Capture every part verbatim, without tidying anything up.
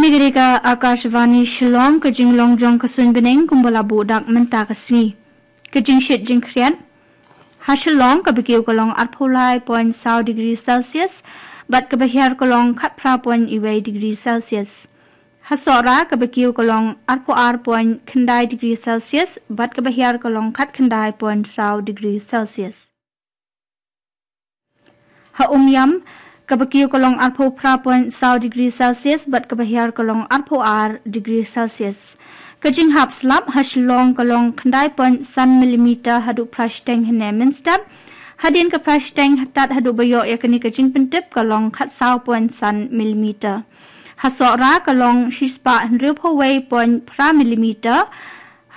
Kane ka dei ka Akashvani Shillong, ka jinglong jong ka suiñ bneng kumba la buh dak mynta ka sngi. Ka jingshit jingkhriat. Ha Shillong kaba kiew ka long arphew lai point saw degree Celsius, bad kaba hiar ka long khatphra point wei degree Celsius. Ha Sohra kaba kiew ka long arphew ar point khyndai degree Celsius, bad kaba hiar ka long khatkhyndai point saw degree Celsius. Ha Umiam, kaba kiew ka long arphew phra point saw degree Celsius, bad kaba hiar ka long arphew ar degree Celsius. Ka jinghap slap ha Shillong ka long khyndai point san millimeter haduh phra shiteng hynne mynstep. Hadien ka phra shiteng tad haduh ba ïoh ïa kane ka jingpyntip ka long khatsaw point san millimeter. Ha Sohra ka long shispah hynriewphew wei point phra millimeter.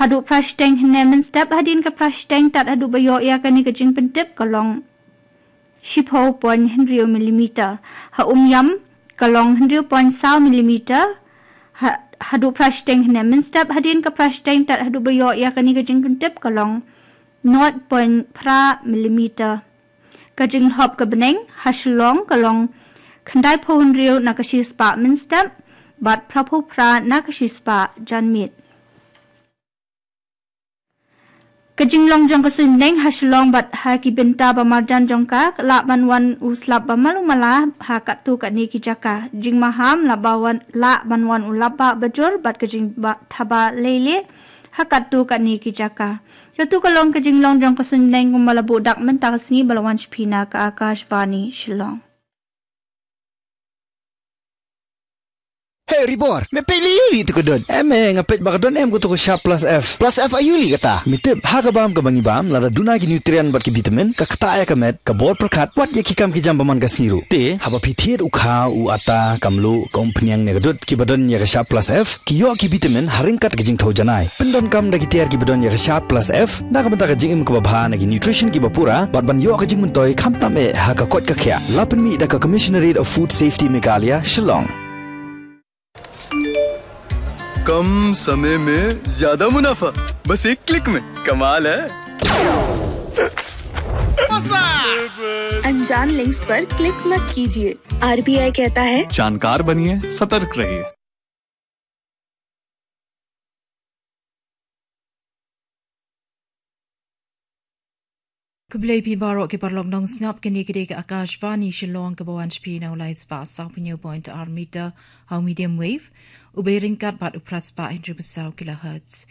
Haduh phra shiteng hynne mynstep, hadien ka phra shiteng tad haduh ba ïoh ïa kane ka jingpyntip ka long shiphew point hynriew millimeter. Ha Umiam ka long hynriew point saw millimeter. Ha, haduh phra shiteng hynne mynstep, hadien ka phra shiteng tad haduh ba ïoh ïa kane ka jingpyntip ka long nought point phra millimeter. Ka jinglhop ka bneng ha Shillong ka long khyndaiphew hynriew na ka shispah mynstep, bad phraphew phra na ka shispah janmiet. Ka jinglong jong ka suiñ bneng ha Shillong bad ha ki bynta ba marjan jong ka, lah ban wan u slap ba malu mala ha katto katne ki jaka. Jingmaham lah ba wan, lah ban wan u lap ba bajur bad ka jingthaba leile ha katto katne ki jaka. Katu ka long ka jinglong jong ka suiñ bneng kumba la buh dak mynta ka sngi, ba la wan sha phi na ka Akashvani Shillong. Hey Ribor, me peit lei ïa u lih tu ka don. Em, eh, nga peit ba ka don em katu ka Sharp Plus F. Plus F aïu lih kata? Me tip, ha ka bam kaba ngi bam, lada duna ki nutrient bad ki vitamin, ka ktah ïa ka met, ka bor pyrkhat, wat ïa ki kam ki jam ba man ka sngi ruh. Te haba phi thied u kha, u atta, ka mluh, ka umphniang ne ka dud, kiba don ïa ka Sharp Plus F, ki ïoh ki vitamin ha ryngkat ka jingthew janai. Pyndonkam da ki tiar kiba don ïa ka Sharp Plus F na ka bynta ka jingim kaba bha na ki nutrition kiba pura, bad ban ïoh ka jingmyntoi khamtam eh ha ka koit ka khiah. La pynmih da ka Commissionerate of Food Safety Meghalaya, Shillong. कम समय में ज्यादा मुनाफा, बस एक क्लिक में। कमाल है। अनजान लिंक्स पर क्लिक मत कीजिए। आरबीआई कहता है, जानकार बनिए, सतर्क रहिए। Khublei phi baroh ki paralok nongsngap, kane ka dei ka Akashvani Shillong kaba wan sha phi na u lai spah sawphew point ar meter ha u medium wave, u bei ryngkat bad u phra spah hynriew phew saw kilohertz.